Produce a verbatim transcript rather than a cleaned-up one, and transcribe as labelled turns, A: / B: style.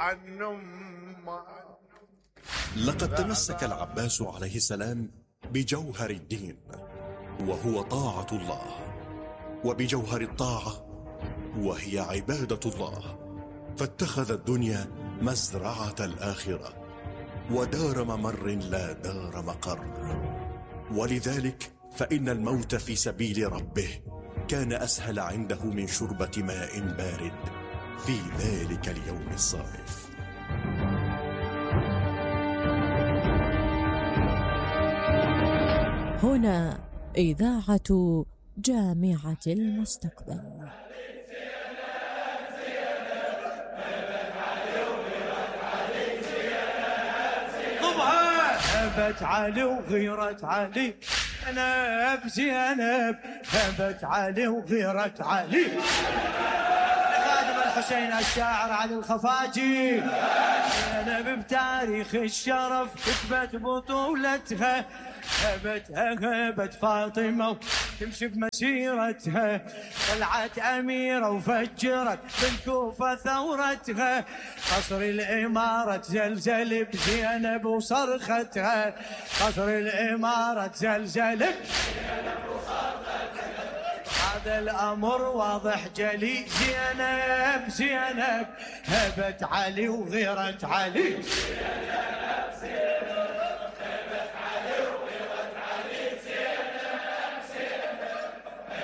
A: عن أمه.
B: لقد تمسك العباس عليه السلام بجوهر الدين وهو طاعة الله، وبجوهر الطاعة وهي عبادة الله، فاتخذ الدنيا مزرعة الآخرة ودار ممر لا دار مقر. ولذلك فإن الموت في سبيل ربه كان أسهل عنده من شربة ماء بارد في ذلك اليوم الصائف.
C: هنا إذاعة جامعة المستقبل.
D: هبت علي وغيرت علي زينب زينب، هبت علي وغيرت علي. خادم الحسين الشاعر علي الخفاجي، زينب بتاريخ الشرف كتبت بطولتها، هبتها هبت فاطمة تمشي بمسيرتها، طلعت أميرة وفجرت بالكوفة ثورتها، قصر الإمارة زلزل بزينب وصرختها، قصر الإمارة زلزل بزينب وصرختها. هذا الأمر واضح جلي، زينب زينب هبت علي وغيرت علي. زينب زينب